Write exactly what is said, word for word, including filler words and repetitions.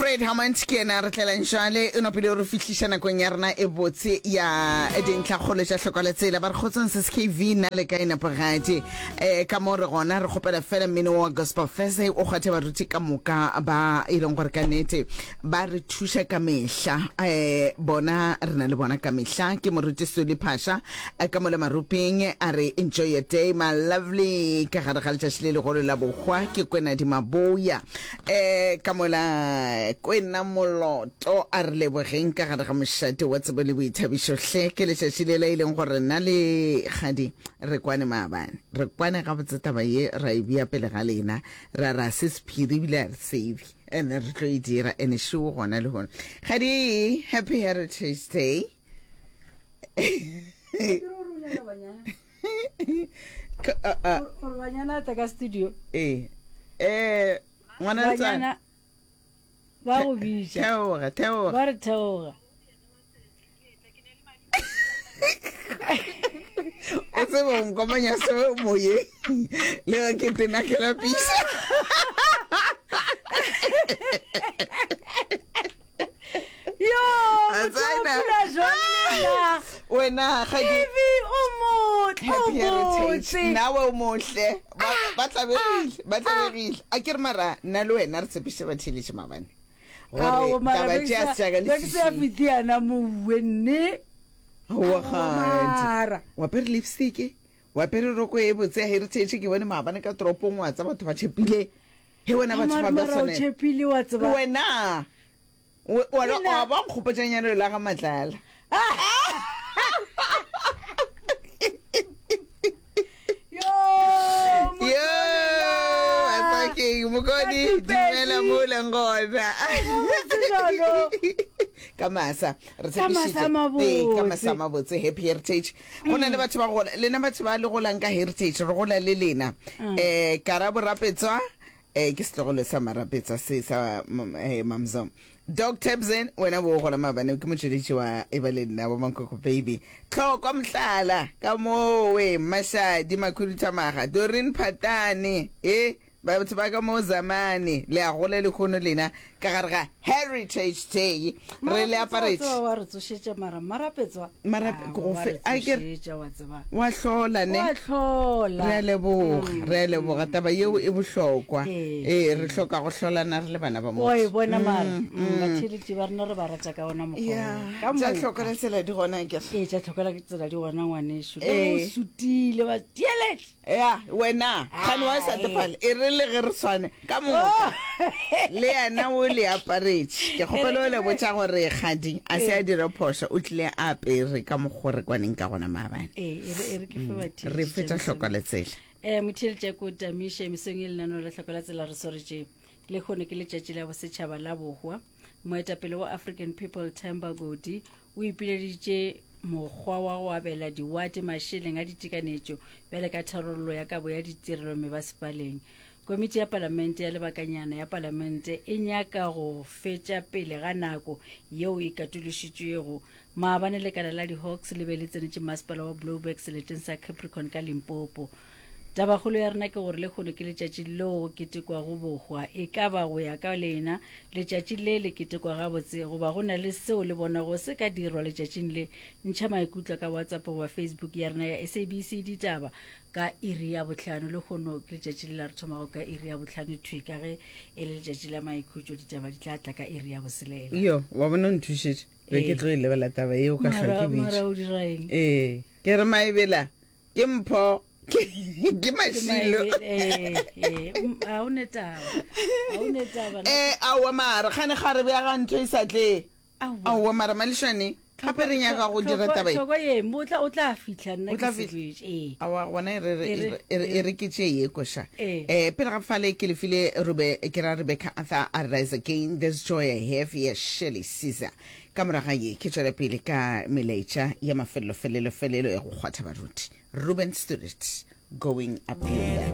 Fred Hammond ke yena re tlelang jale o napile o re fihliša nakong ya rena e botse ya dintlhakgolo tša hlokwa la tsela. Ba re kgotsong S K V na le kae nepagadi? Um ka mo re gona re kgopela fela mmino wa Gospel Thursday o kgwathe baruti ka moka ba e leng gore ka nnete ba re thuša ka mehla. Um bona re na le bona ka mehla. Ke moruti Suli Phasha ka mo le Maruping a re enjoy your day my lovely ka gare ga letšatši le legolo la bohwa ke Kwenadi Maboya. Um ka mola Kwena Moloto a re lebogeng ka gare ga mošate wa tsebo le boithabišo hle. Ke letšatši le la e leng gore nna le kgadi re kwane maabane, re kwane gabotse taba ye ra e bea pele ga lena, ra ra se sephiri ebile a re tsebe ene re tlo e dira ene šeo gona le gona. Kgadi, happy heritage day. Gore banyana tla ka studio. Ee eh ngwana banyana ba go bitša. Theoga, theoga. Ba re theoga. O tsebe o nkomanya se moyeng le ge ke tena ke lapisa. Yo, motho o phela jwang le nna? Wena ga di Ivy, o motle, o Happy heritage. botse. Nawe o motle. Ba ba tlabegile, ba tlabegile. A ke re mara nna le wena re tshepiše batheeletši maabane gore Ao, mara taba be tše a ke se tša ka sa- be ke sa leswiswing. fete yana mowe nne. Aowa Aowa, kgadi. mara. O apere lipstick, o apere roko e botse ya heritage ke bone maabane ka toropong wa tsa batho ba tšhepile. He wena batho Mara ba ba mara o tshwanela. tšhepile wa tseba. Wena o Le wa nna ba nkgopotša nyalo la ga Matlala. Yo, Yo, Asakeng, Mokodi, dumela mo o leng gona. Ka masa, re Ka masa tshepišitše. a Ee, ka masa a mabotse. mabotse, happy heritage. Go na le batho ba gola, lena batho ba le golang ka heritage, re gola le lena. Eh, Karabo Rapetswa, eh, ke setlogolo sa Marapetswa se sa mm, eh, Mamzo. Doc Tabsen, wena bo gola maabane ke motšweletši wa e ba le nna wa Mankoko Baby. Tlhokwa mohlala ka mowe Mashadi Makhuduthamaga, Doreen Phatane, e batho ba ka mo Zamane, le a gola lehono lena ka gare ga Heritage Day. Re le Marapetswa wa aparetše. tseba wa re tsošetša mara Marapetswa. Marape Ah, ke go wa fe re a ke re tsošetša wa tseba. wa hlola ne. Wa hlola. Re a leboga, re a leboga taba yeo e bohlokwa. Ee. Ee, re hloka go hlolana re le bana ba Wa e motho. bona mara. Mm, Batheeletši ba rena re ba rata ka ona mokgwa Ya, wo. Ka tša moka. hloka la tsela di gona ke re. Ee, tša tlhoka tsela di gona ngwanešu. Le ge o Ee. sutile ba tielete. Ya, wena, kgane wa sa tefale, e re le ge re swane ka moka. Le yena o le aparetše. Ke kgopela o le botša gore kgadi a se a dire phošo, o tlile a apere ka mokgo re kwaneng ka gona maabane. Ee, e re e re ke fe batheeletši Re fetša tša hloka mesong. le tsela. Eh, motheeletši ko tamiše mesong e lenaneo la hloko la tsela re swaretše lehono ke letšatši la bosetšhaba la bohwa. Moetapele wa African People Themba Godi o ipileditše mokgwa wa go abela diwate mašeleng a ditekanetšo bjale ka tharollo ya kabo ya ditirelo mebasepaleng. Komiti ya palamente ya lebakanyana ya palamente e nyaka go fetša pele ga nako yeo e katološitšwego. Maabane lekala la di-Hawks le be le tsenetše masepala wa Blouberg seleteng sa Capricorn ka Limpopo. Tabakgolo ya rena ke gore lehono ke letšatši leo go ketekwago bohwa. E ka ba go ya ka lena letšatši le le ketekwa gabotse goba go na le seo le bonago se ka dirwa letšatšing le? Ntšha maikutlo ka WhatsApp goba Facebook ya rena ya S A B C Ditaba ka iri ya bohlano. Lehono ke letšatši le la re thomago ka iri ya bohlano thwi ka ge e le letšatši la maikhutšo. Ditaba di tla tla ka iri ya boselela. Yo, wa bona o nthušitše. Be ke Ee. tlo e lebela taba yeo ka hlwa Mara, ke bitše. mara o dira eng? Ee, ke re maebela ke mpho. Ke mašilo. Ga o ne taba. Ga o ne taba. Eh, aowa mara kgane ga re bea ga ntho e sa tle. Aowa. Aowa mara mališane gape re nyaka go dira taba e. Tlhoko ye, mo tla o tla fihla nna O tla ke se fihla. kwetše. Ee. Aowa gona e re re E re, e re e re ke tše ye koša. Ee. Eh, pele ga fale ke lefile Rube ke ra Rebecca Arthur a Rise Again This Joy I Have ya Shirley Caesar. Ka moraga ye ke tšwela pele ka melaetša ya mafelelo felelo felelo ya go kgwatha baruti. Ruben Stuart going up yonder.